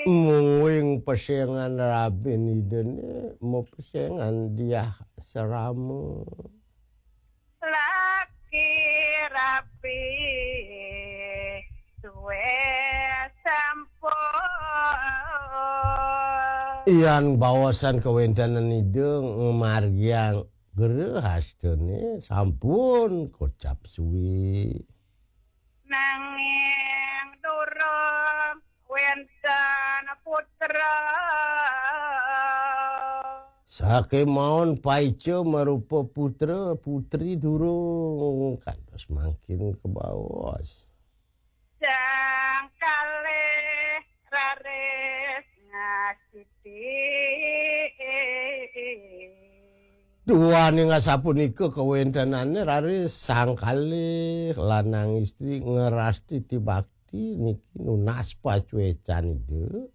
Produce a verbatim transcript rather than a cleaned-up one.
Mungwing pesengan rabin idene, mepesengan diah serama. Laki rapi suwe sampun. Yan bawasan kawéntenan ida ngamargiang grehastane sampun kocap suwe. Nanging durung wénten putra. Sakémaon paica marupa putra putri durung kantos mangkin kabaos. Sang kalih raris ngasiti. Duaning asapunika kawéntenane raris sang kalih lanang istri ngerastiti bakti niki nunas pacwecan ida.